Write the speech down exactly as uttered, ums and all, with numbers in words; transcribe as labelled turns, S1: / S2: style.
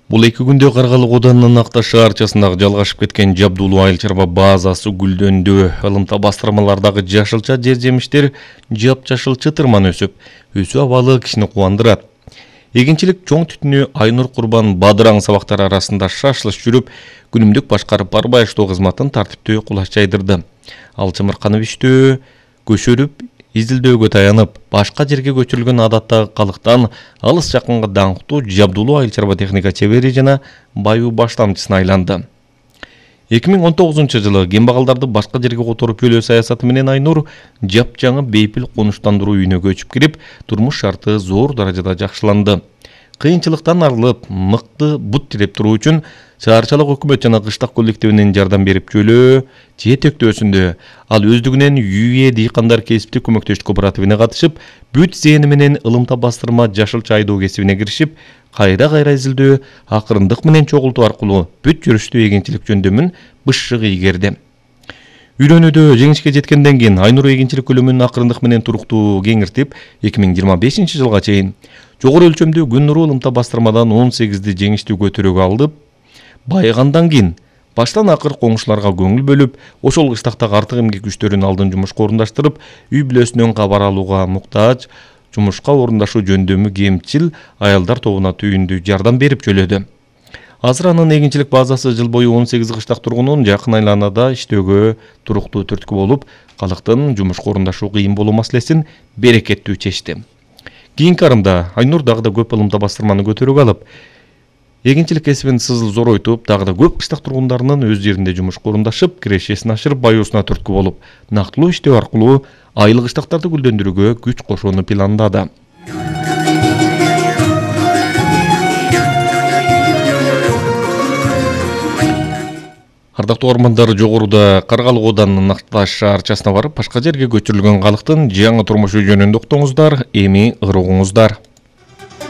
S1: Бул эки күндө Каргалык Оданынын Акташ шаарчасындагы жалгашып кеткен Жабдулуу айыл чарба базасы гүлдөндү. Ылымта бастырмалардагы жашылча жер жемиштер жап-жашыл чытырман өсүп, өсүү абалы кишини кубандырат. Эгинчилик чоң түтүнү Айнур Курбан бадыраң сабактар арасында шашылыш жүрүп, күнүмдүк башкарып барбаштоо кызматын тартиптүү кулаш жайдырды. Ал чымырканып иштөө, көшөрүп, изилдөөгө таянып, башка жерге көчүрүлгөн адаттагы калыктан алыс жакынга даңктуу Жабдулуу айыл чарба техника чебери жана баюу баштамчысына айланды. эки миң он тогузунчу жылы кембагалдарды башка жерге которуп бөлөө саясаты менен Айнур жапжаңы бейпил конуштандыруу үйүнө көчүп кирип, турмуш шарты зор даражада жакшыланды. Кыйынчылыктан арылып, мыкты бут тиреп туруу үчүн шаарчалык өкмөт жана кыштак коллективинин жардам берип жөлөө, жээ төктөөсүндө ал өздүгүнөн ЮЭ дыйкандар кесиптик көмөктөштүк кооперативине катышып, бүт зээни менен ылымта бастырма жашылча айдоо кесибине киришип, кайра-кайра изилдөө, акырындык менен чогултуу аркылуу бүт жүрүштүү эгинчилик жөндөмүн бышшык ийгерди. Үйрөнүүдө жеңишке жеткенден кийин Айнур эгинчилик көлөмүн акырындык менен туруктуу кеңиртип, эки миң жыйырма бешинчи жылга чейин жогору өлчөмдүү күн нуру ылымта бастырмадан он сегизди жеңиштүү көтөрүүгө алып, байыгандан кийин баштан акыр коңшуларга көңүл бөлүп, ошол кыштактагы артык эмгек күчтөрүн алдын жумушка орундаштырып, үй бүлөсүнөн кабар алууга муктаж, жумушка орундашуу жөндөмү кемчил аялдар тобуна түйүндүү жардам берип жөлөдү. Азыр анын эгинчилик базасы жыл бою он сегиз кыштак тургунун жакын айланада иштөөгө туруктуу түрткү болуп, калктын жумушка орундашуу кыйын болуу маселесин берекеттүү чечти. Кийинки арымда Айнур дагы да көп ылымта бастырманы көтөрүүгө алып, эгинчилик кесибин сызыл зоройтуп, дагы да көп кыштак тургундарынын өз жеринде жумушка орундашып, кирешесин ашырып, баюусуна түрткү болуп, нактылуу иштөө аркылуу айыл кыштактарды гүлдөндүрүүгө күч кошууну пландады. Ардактуу угармандар, жогоруда Каргалык Оданынын Акташ шаарчасына барып, башка жерге көчүрүлгөн калктын жаңы турмушу жөнүндө уктуңуздар, эми ырыгыңыздар.